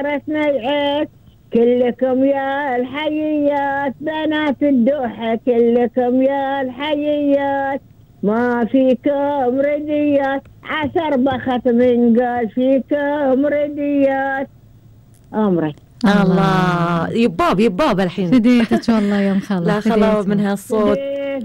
رسنا العيد كلكم يا الحيات بنات الدوحة كلكم يا الحيات ما فيكم رديات عسر بخت من قال فيكم رديات أمري. الله يباب الحين فديتك والله يا مخلص. لا خلاص من هالصوت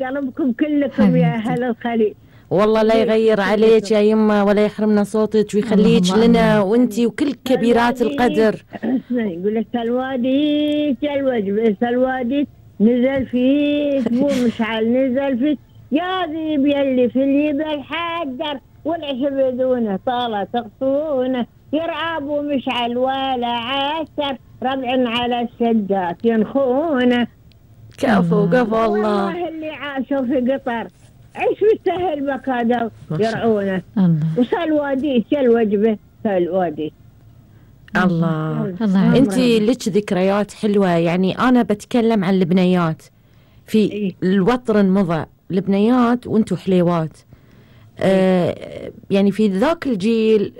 قلبكم كلكم يا أهل الخليج. والله لا يغير عليك يا يمه ولا يحرمنا صوتك ويخليك لنا وانتي وكل كبيرات القدر. يقول لك الوادي الوجبه الوادي نزل فيك مو مشعل نزل فيك يا ذيب يلي في اليد الحجر والعش بدونه طالة تغصونه يرعب ومشعل ولا عسر ربع على الشدات ينخونه. كفو والله اللي عاشوا في قطر عيش بالسهل بكادوا يرعونه. وسلوادي الوجبه سلوادي. الله انت لك ذكريات حلوه. يعني انا بتكلم عن البنيات في الوطر مضى البنيات وانتو حليوات. يعني في ذاك الجيل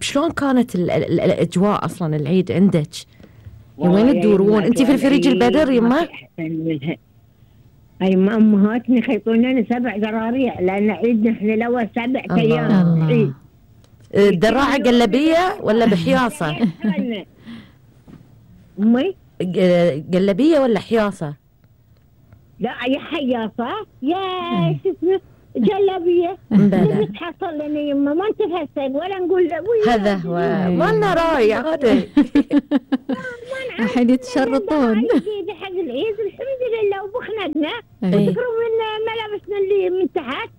شلون كانت الاجواء اصلا العيد عندك؟ وين تدورون؟ انت في الفريج البدر يما؟ اي ما امهاتنا يخيطون لنا 7 زراريع لان عيدنا احنا الاول 7 ايام عيد. الدراعة قلبية ولا بحياصة؟ امي قلبية ولا حياصة؟ لا يا حياصة يا شو اسمه جلبية. نبي تحصل لنا يما ما نتفسد ولا نقول هذا هو ما لنا راي عادي. أحد يتشرطون حق العيد الحمد لله وبخندنا وذكروا من ملابسنا اللي من تحت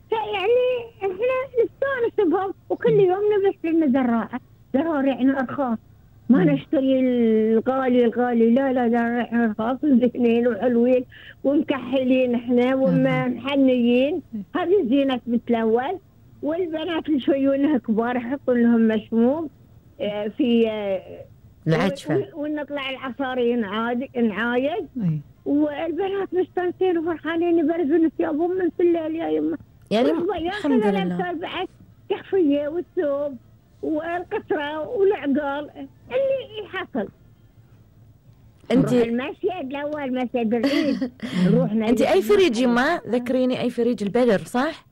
فيعني احنا نستانس بهم وكل يوم نلبس لنا زراريعنا ارخاص ما نشتري الغالي لا زراريعنا ارخاص وزينين وحلوين ومكحلين احنا ومحنيين. هذه زينة مثل الاول. والبنات اللي شويونها كبار يحطون لهم مشموم في العجفة ونطلع العصاري نعايد والبنات مستانسين وفرحانين يبرزون ثيابهم من في الليل يا يمه. يعني الحمد لله بعد تحفية والثوب والقطرة والعقال اللي يحصل. انت المشيد الاول مشيد العيد نروح. انت اي فريج يما؟ ذكريني اي فريج البدر صح؟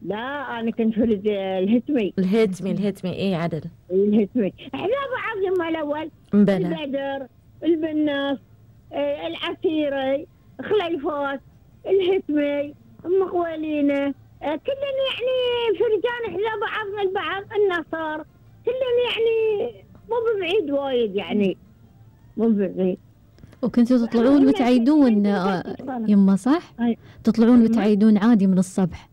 لا انا كنت فريج الهتمي ايه عدل الهتمي. احنا بعض يما الاول البدر البناس العسيري خليفات الهتمي مقولينه كلنا يعني فرجان احنا بعضنا البعض النصار كلنا يعني مو ببعيد وايد يعني مو ببعيد. وكنتوا تطلعون وتعيدون يما صح؟ تطلعون وتعيدون عادي من الصبح؟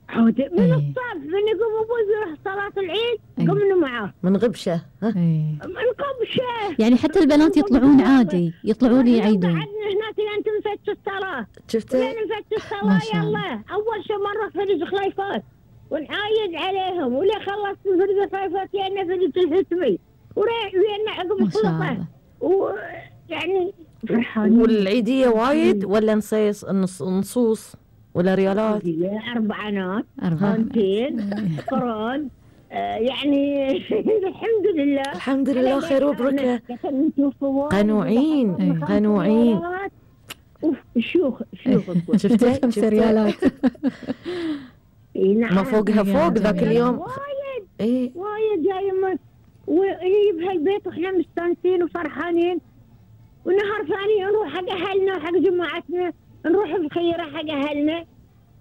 عادي من الصبح من يقوم ابوي يروح صلاة العيد قمنا معاه من غبشة من غبشة. يعني حتى البنات يطلعون عادي يطلعون يعيدون. قعدنا هناك لين تنفتش الصلاة. شفتي؟ لين نفتش الصلاة يلا أول شيء مرة فريج خليفات ونعايد عليهم ولا خلصت فريج خليفات يعني فريج الهتمي ويانا عقب السلطة ويعني فرحانين. والعيدية وايد ولا نصوص ولا ريالات؟ 4 هانتين قران يعني الحمد لله خير وبركة. قنوعين شيوخ شفتي 5 ريالات ما فوقها فوق ذاك اليوم وايد يا يما. ويجيب هالبيت واحنا مستانسين وفرحانين ونهار ثاني نروح حق اهلنا وحق جماعتنا نروح الخيرة حق اهلنا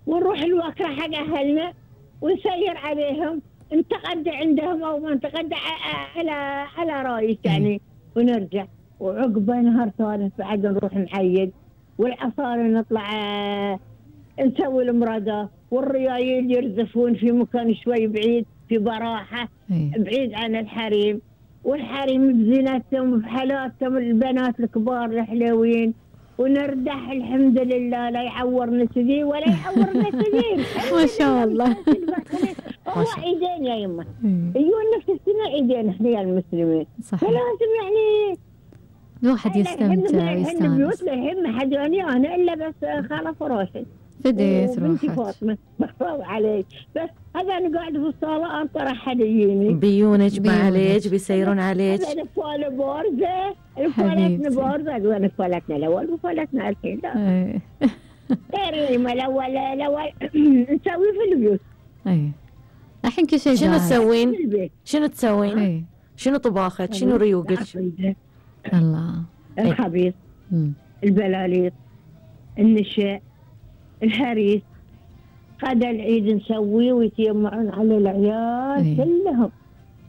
ونروح الوكرة حق اهلنا ونسير عليهم نتغدى عندهم او ما نتغدى على رايش يعني ونرجع. وعقبه نهار ثالث بعد نروح نعيد والعصاري نطلع نسوي المرادة والريايل يرزفون في مكان شوي بعيد في براحة بعيد عن الحريم والحريم بزينتهم وبحالاتهم البنات الكبار الحلوين ونردح الحمد لله لا يعورنا سذي ولا يعورنا سذي. ما شاء الله. هو عيدين يا يمه يجون نفس السنة عيدين احنا يا المسلمين فلازم يعني الواحد يستمتع ويستانس. بيوتنا الحين ما حد يعني انا الا بس خاله فراشي فديت وبنتي روحك. فاطمة بخاف عليك، بس هذا أنا قاعدة في الصالة أنت راح يجيني بيونج عليك بيسيرون عليك. هذا نفالة بارزة، نفالتنا حبيبتي. بارزة، نفالتنا الأول وفالتنا الحين لا اي غير ما الأول نسوي في البيوت. اي الحين كل شيء شنو جاهز. تسوين؟ في البيت شنو تسوين؟ اي شنو طباخك؟ شنو ريوقك؟ الله. الخبيث، مم. البلاليط، النشاء، الهريس، غدا العيد نسويه ويتجمعون على العيال إيه. كلهم،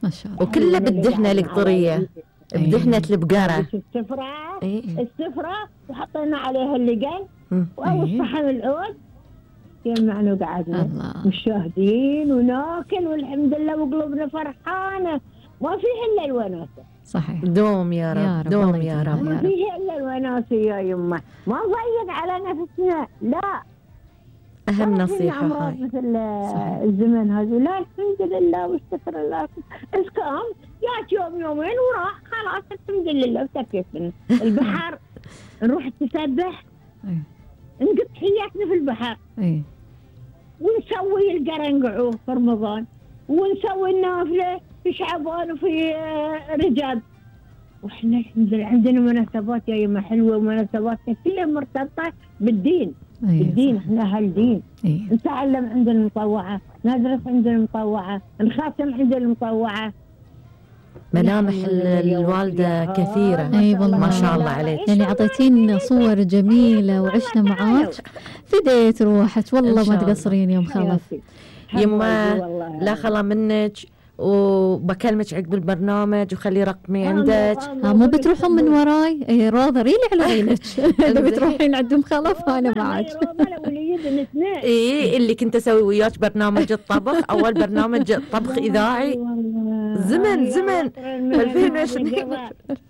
ما شاء الله. وكله بالدهنة القطرية، بدهنة البقرة. السفرة إيه. السفرة وحطينا عليها اللقن أو إيه. الصحن العود، جمعنا وقعدنا الله. مشاهدين وناكل والحمد لله وقلوبنا فرحانة، ما فيه إلا الوناسة، صحيح. دوم يا يا رب، رب، دوم الله يا يديمها. رب. ما فيه إلا الوناسة يا يمه، ما نضيق على نفسنا، لا أهم ما فينا نصيحة أمراض هاي. مثل صحيح. الزمن هذا، لا الحمد لله واستغفر الله، اسكام جات يوم يومين وراح خلاص الحمد لله وتكفينا. البحر نروح نتسبح، اي نقضي حياتنا في البحر، اي ونسوي القرنقعو في رمضان، ونسوي النافلة في شعبان وفي رجب، واحنا الحمد لله عندنا مناسبات يا يما حلوة، ومناسباتنا كلها مرتبطة بالدين. اي الدين احنا اهل دين، اي نتعلم عند المطوعة، ندرس عند المطوعة، نخاتم عند المطوعة. ملامح الوالدة كثيرة. اي والله ما شاء الله عليك. يعني اعطيتينا صور جميلة وعشنا معاك، فديت روحك والله إن ما شاء الله. تقصرين يوم خلف. يما لا خلا منك، وبكلمك عقب البرنامج وخلي رقمي عندك. مو بتروحون من وراي؟ اي راضة ريلي على ريلك. اذا بتروحين عند ام خلف انا معك. اي اللي كنت اسوي وياك برنامج الطبخ، اول برنامج طبخ اذاعي. زمن 2020.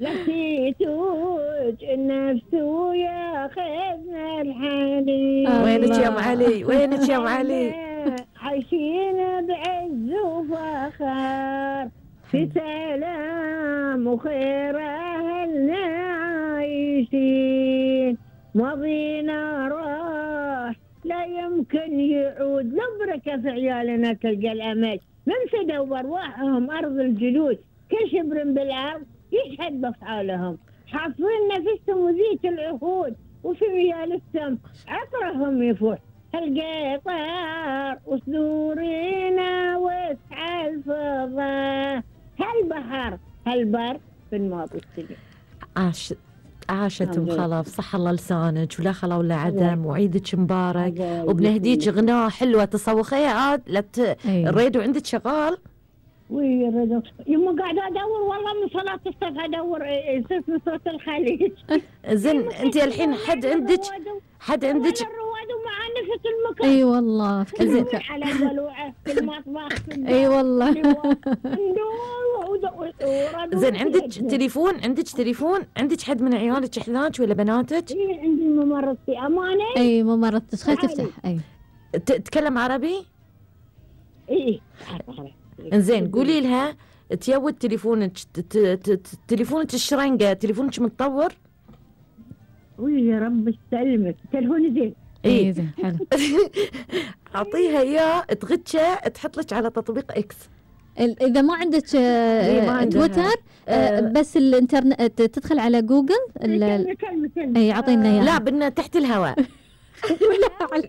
لقيتوك النفس وياخذنا الحنين. وينك يا ام علي؟ وينك يا ام علي؟ عايشين بعز وفخر في سلام وخير أهلنا عايشين، ماضينا راح لا يمكن يعود، نبركة في عيالنا تلقى الأمل، منسدوا بأرواحهم أرض الجلود، كل شبر بالأرض يشهد بأفعالهم، حاصرين نفسهم وذيك العهود، وفي ميال السم عطرهم يفوح، القطار وصدورنا وسع الفضاء، هالبحر هالبر في الماضي السنين. عاشت ام خلف، صح الله لسانك ولا خلا ولا عدم، وعيدك مبارك، وبنهديك غناء حلوه تصوخيها عاد الراديو عندك شغال؟ وي الراديو يما قاعده ادور والله من صلاه الصبح ادور اسم صوت الخليج. زين انت الحين حد عندك الرواد ومع نفس المكان. اي والله في كل مكان. على البلوعه في المطبخ في اي والله. زين عندك تليفون عندك حد من عيالك احذاك ولا بناتك؟ اي عندي ممرضتي امانه. اي ممرضتك خلي تفتح. اي تتكلم عربي؟ اي انزين قولي لها تيود تليفونك الشرنقه، تليفونك متطور؟ وي يا رب يسلمك، تليفوني زين. اي زين حلو. اعطيها اياه تغتشه تحط لك على تطبيق اكس. اذا ما عندك تويتر بس الانترنت تدخل على جوجل. اي اعطينا اياه. لا بدنا تحت الهواء.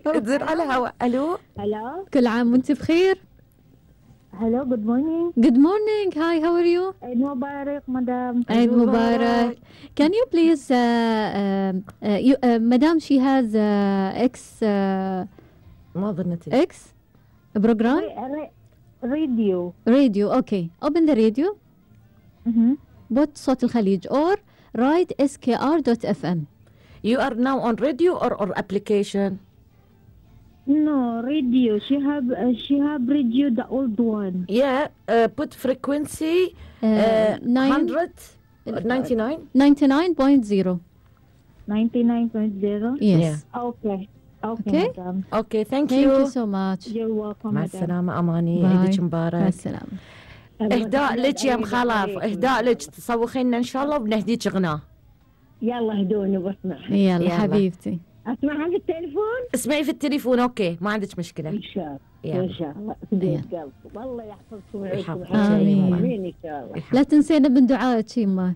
تزر على الهواء. الو كل عام وانت بخير. Hello, good morning. Good morning. Hi, how are you? Eid Mubarak, madam. Eid Mubarak. Can you please, madam, she has X. ما ظنيت. X program. Radio. Radio. Okay. Open the radio. Put صوت الخليج or write skr.fm. You are now on radio or application? No, radio. She have radio, the old one. Yeah, put frequency 100 99 99.0. 99.0. Yes. Yeah. Okay. Okay. Madam. Okay, thank Thank you. you so much. You're welcome. مع madam. السلامة أماني، Bye. عيدك مع مبارك. السلامة. إهداء لك يا مخالف، إهداء لك تصوخي لنا إن شاء الله وبنهديك غناء. يلا هدوني بسمع. يلا يلا. حبيبتي. اسمعها في التليفون. اسمعي في التليفون اوكي ما عندك مشكله. ان شاء الله يلا. ان شاء الله في قلبكم. والله يحفظكم ويعيشكم آمين. امين ان شاء الله. لا تنسينا من دعائك يما.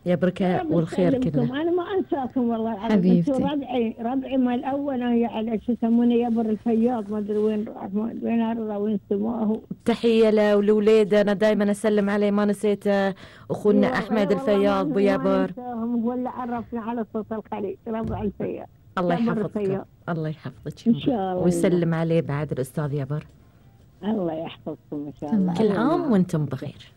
يا بركة والخير كله. انا ما انساكم والله العظيم. حبيبتي. انتوا ربعي ما الاول على شو يسمونه يبر الفياض ما ادري وين راح وين ارضى وين سماه. تحية له ولولاده انا دائما اسلم عليه ما نسيته اخونا احمد الفياض ابو يابر. ولا عرفنا على صوت الخليج ربع الفياض. الله يحفظك. الله يحفظك ان شاء الله. ويسلم عليه بعد الاستاذ يابر. الله يحفظكم ان شاء الله. كل عام وانتم بخير.